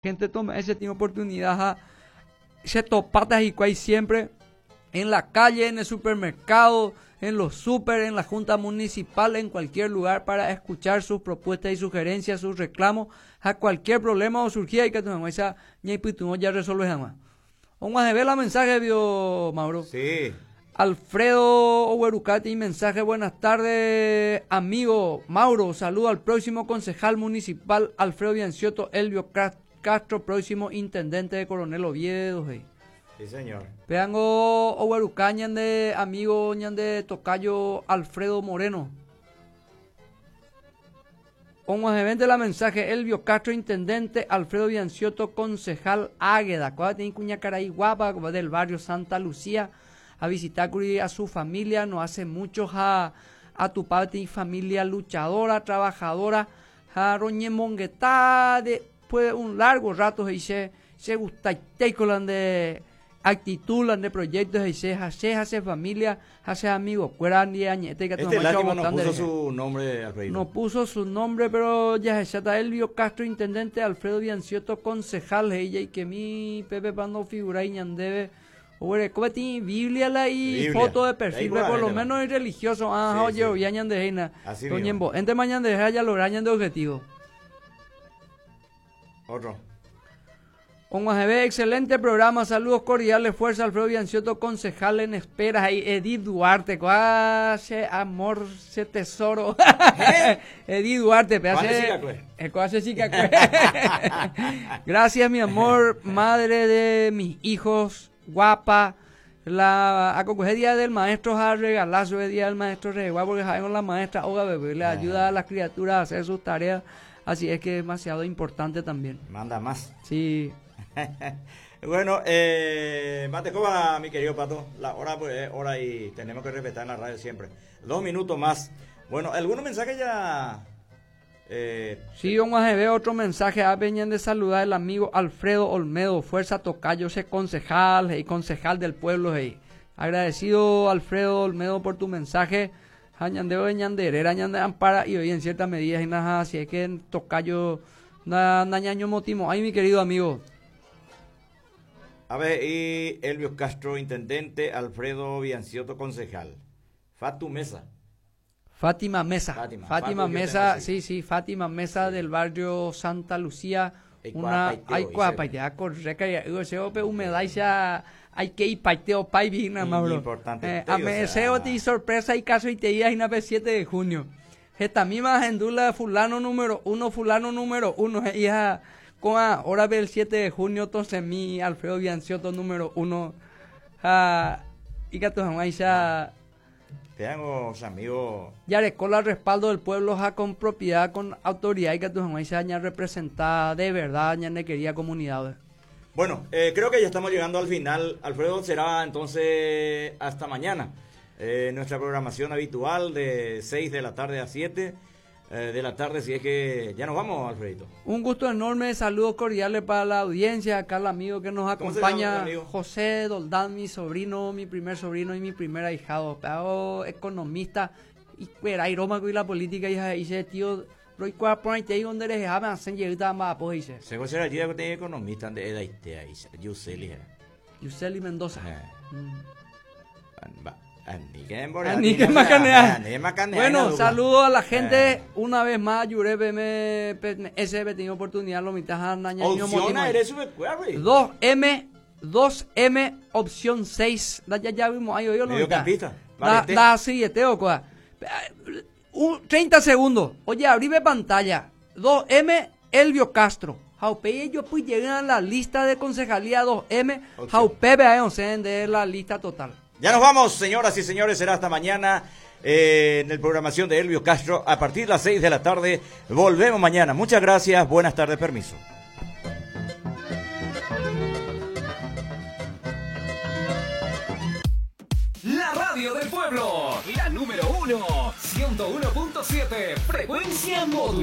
Gente toma ese tiene oportunidad a se topata hikuái siempre en la calle, en el supermercado, en los super, en la junta municipal, en cualquier lugar para escuchar sus propuestas y sugerencias, sus reclamos, a cualquier problema o surgía y que tu esa ya resuelve jamás. O la mensaje vio Mauro. Sí. Alfredo Owerucati, mensaje, buenas tardes, amigo Mauro, saludo al próximo concejal municipal Alfredo Bianciotto, Elvio Castro, próximo intendente de Coronel Oviedo. Hey. Sí, señor. Peango Oweruca, de amigo de Tocayo Alfredo Moreno. Onguajevente la mensaje, Elvio Castro, intendente, Alfredo Bianciotto, concejal Águeda. Cuál tiene cuña caray guapa del barrio Santa Lucía a visitar a su familia, no hace mucho a, a tu padre y familia luchadora, trabajadora, a roñe monguetá, después un largo rato y se se gusta con de actitud, de proyectos y se hace hace familia, hace amigos, cuera ni añete que este lástima no puso su nombre, Alfredo. No puso su nombre, pero ya se está Elvio Castro, intendente, Alfredo Bianciotto, concejal, ella y que mi Pepe Pando figura y ñandebe. Oye, ¿cómo Biblia la y foto de perfil, por lo menos es religioso. Ah, oye, sí. ya de heina. Así mismo. Entre mañana de ya logran de objetivo. Otro. Con excelente programa, saludos cordiales, fuerza Alfredo Bianciotto, concejal en espera, ahí Edith Duarte, hace amor, se tesoro. ¿Eh? Edith Duarte, Gracias, mi amor, madre de mis hijos, guapa. La acoge día del maestro a regalazo el día del maestro re igual porque sabemos la maestra oga bebé le ayuda a las criaturas a hacer sus tareas, así es que es demasiado importante también. Manda más. Sí. Bueno, mate coba, mi querido Pato. La hora pues es hora y tenemos que respetar en la radio siempre. 2 minutos más. Bueno, ¿algunos mensajes ya? Sí, vamos a ver otro mensaje. A venían de saludar el amigo Alfredo Olmedo, Fuerza Tocayo, ese concejal y concejal del pueblo. Hey. Agradecido Alfredo Olmedo por tu mensaje. Añandeo de Ñanderera, Ñande Ampara y hoy en cierta medida y nada, así es que en Tocayo, na, nañaño motimo. Ay, mi querido amigo. A ver, y Elvio Castro, intendente, Alfredo Bianciotto, concejal. Fatu Mesa. Fátima Mesa. Fátima, Fátima Mesa, sí, sí, Fátima Mesa sí. Del barrio Santa Lucía. Una ay cuapaite, correcta, y ese ope humedad hay que ir paiteo pai vina, mauro. Importante. A me ti sorpresa y caso y te y na 7 de junio. Esta misma agendula fulano número 1, fulano número 1, hija con ahora ve el 7 de junio, entonces mi Alfredo Bianciotto número 1. Ah, y que tu ya te hago, amigo. Ya con el respaldo del pueblo, ja, con propiedad, con autoridad y que tu se haya representada de verdad, ya ne quería comunidad. Bueno, creo que ya estamos llegando al final. Alfredo, será entonces hasta mañana. Nuestra programación habitual de 6 de la tarde a 7 de la tarde, si es que ya nos vamos, Alfredito. Un gusto enorme, saludos cordiales para la audiencia, acá el amigo que nos acompaña, José Doldán, mi sobrino, mi primer sobrino y mi primer ahijado, pero economista, y y la política, y dice, tío, Roy por ahí donde les dejaba hacen llegar más pues dice. Se considera que tiene economista de Edaitea, Yuseli. Yuseli Mendoza. Bueno, saludo a la gente. Una vez más, Yure PM S tenido oportunidad, lo mitad 2M, 2M, opción 6. Ya, ya vimos ahí, hoy lo mitad. Da, sí, este, o 30 segundos. Oye, abrime pantalla. 2M, Elvio Castro. Jaupe, ellos pues llegan a la lista de concejalía 2M. Jaupe, de la lista total. Ya nos vamos, señoras y señores, será hasta mañana en la programación de Elvio Castro a partir de las 6 de la tarde. Volvemos mañana. Muchas gracias, buenas tardes, permiso. La radio del pueblo, la número 1, 101.7, frecuencia modulada.